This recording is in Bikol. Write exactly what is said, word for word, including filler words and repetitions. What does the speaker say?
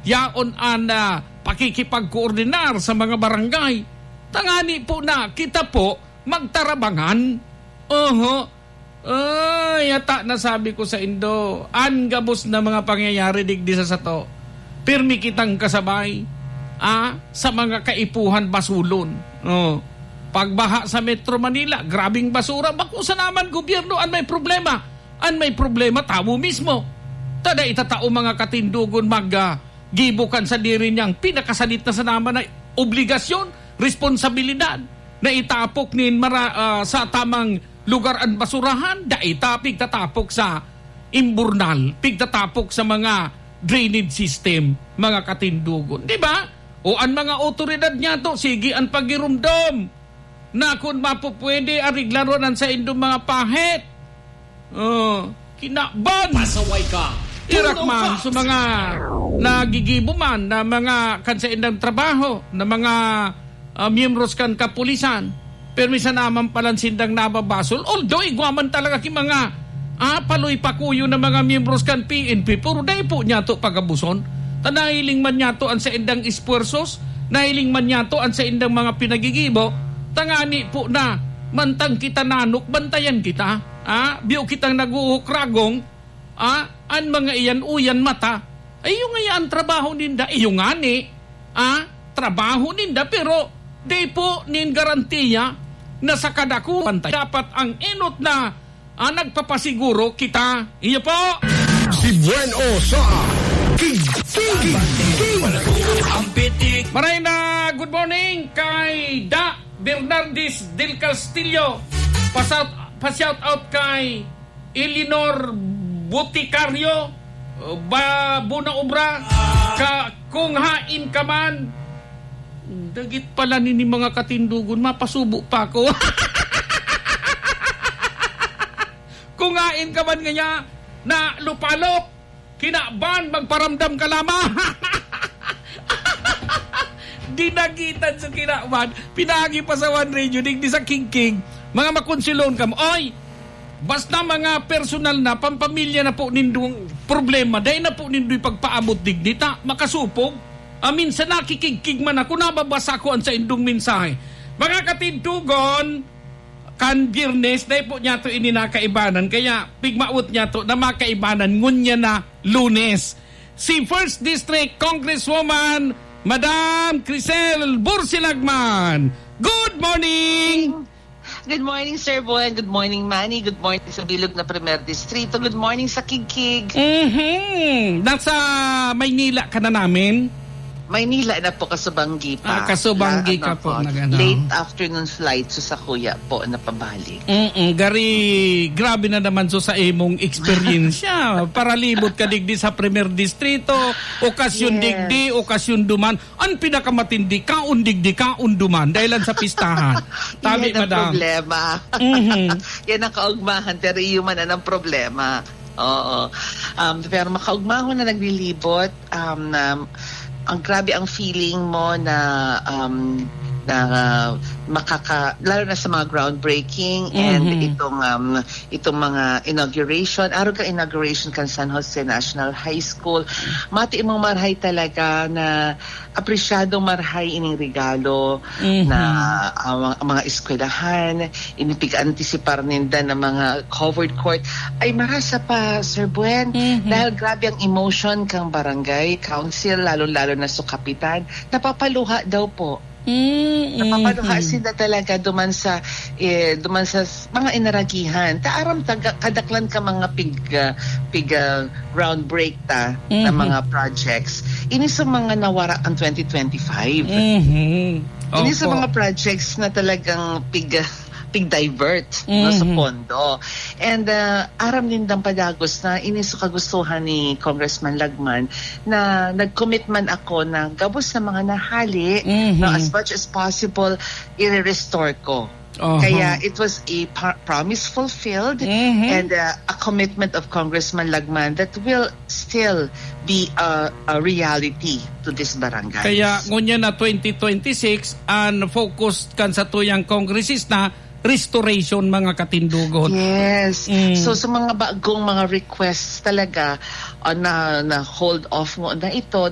yaon an, ah, pakikipagkoordinar sa mga barangay. Tangani po na kita po magtarabangan. Oho. Ay, ata na sabi ko sa indo, an gabos na mga pangyayari digdi sa sato, pirmi kitang kasabay, ah, sa mga kaipuhan basulon. Oh. Pagbaha sa Metro Manila, grabing basura. Bako sana man gobyerno an may problema. An may problema, tawo mismo. Tada itatao mga katindogon mag, ah, gibo kan sadiri niyang pinakasadit na sana man na obligasyon, responsabilidad na itapok nin mara-, ah, sa tamang lugar an basurahan, dai ta pigtatapok sa imburnal, pigtatapok sa mga drainage system, mga katindogon. Di ba? O an mga otoridad niyato, sige an pagirumdom na kun mapupwede, areglaron an saindong mga pahit. Oh, kinaban! Pasaway ka! Irak Tulong man ka! Sa mga nagigibo man na mga kan saindang trabaho, na mga, ah, miyembros kan kapulisan, pero minsan naman palan sindang nababasol. Although, igwa man talaga ki mga, ah, paloy pakuyo na mga miyembros kan P N P, pero dai po niyato pagabuson. Ta nahiling man niyato an saindang esfuerzos, nahiling man niyato an saindang mga pinagigibo, tangani po na mantang kita nanok, bantayan kita. Ah, biyo kitang naguhukragong, ah, an mga iyan-uyan mata. Ay, iyo ngaya an trabaho ninda, iyo ngani, ah, trabaho ninda, pero di po nin garantiya na sa kadako bantay. Dapat ang enot na, ah, nagpapasiguro kita. Iyo po. Si Buen O sa King, King, King, King. Ang pitik. Maray na, good morning kay Da Bernardis del Castillo. Pa-shout, pa-shout out kay Eleanor Boticario, ba, Bona Obra, ka, kung hain ka man, dagit pala nini mga katindogon, mapasubo pa ako. Kung hain ka man ngaya, na lupalop, kinaban, magparamdam ka lamang. Dinagitan sa kinaban, pinagi pa sa One Radio, digdi sa Kingking, mga makonsilon kamo. Oy, basta mga personal na, pampamilya na po nindong problema, dai na po nindo ipagpaabot digdi, ta makasupog. Amin sa nakikigkig man ako, nababasa ko an saindong mensahe. Mga katindogon, kan Biyernes, dai po niyato ini nakaibanan. Kaya, pigmawot niyato na makaibanan, ngunya na Lunes. Si First District Congresswoman, Madam Crisel Bursilagman. Good morning! Good morning, Sir Boy. Good morning, Manny. Good morning sa bilog na Primer Distrito. Good morning sa Kigkig. Mhm. Nasa Maynila ka na namin? Maynila na po, kasubanggi pa. Ah, kasubanggi La-, ka ano po, po, nag-ano. Late afternoon flight, so sa kuya po, napabalik. Mm-mm. Gari, grabe na naman so sa imong eksperyensya. Paralibot ka digdi sa Primer Distrito, okasyon Yes. digdi, okasyon duman. An pinakamatindi, kaon digdi, kaon duman, dahil lang sa pistahan. Tabi, Yan ang madam. problema. Mhm. Yan ang kaugmahan, pero iyo man ang problema. Oo. Um, pero makaugmahon na naglilibot, um, na ang grabe ang feeling mo na, um, na makaka-, lalo na sa mga groundbreaking and Mhm. itong, um, itong mga inauguration, araw ka inauguration kan San Jose National High School. Mati mong marhay talaga na apresyado marhay ining regalo Mhm. na ang mga, ang mga eskwelahan, ini pig-antisipar ninda na mga covered court. Ay, marasa pa, Sir Buen, Mhm. dahil grabe ang emotion kang barangay council, lalo-lalo na sa kapitan. Napapaluha daw po. Mm, Napapaluha mhm. sila talaga duman sa, eh, duman sa s-, mga inaragihan. Ta aram ta ga-, kadaklan ka mga pig, ah, pig, ah, groundbreak ta na Mhm. mga projects. Ini sa mga nawara ang twenty twenty-five. Mhm. Ini sa Opo. mga projects na talagang pig, pig-divert, no, sa Mhm. pondo. And, ah, aram nindang padagos na ini sa kagustuhan ni Congressman Lagman na nag-commit man ako na gabos na mga nahali, Mhm. no, as much as possible, i-restore ko. Oho. Kaya it was a pa-, promise fulfilled Mhm. and, uh, a commitment of Congressman Lagman that will still be a, a reality to this barangay. Kaya ngunyan na twenty twenty-six, ang focus kan satuyang kongresista, restoration, mga katindogon. Yes. Mm. So, sa mga bagong mga requests talaga, uh, na, na hold off mo na ito,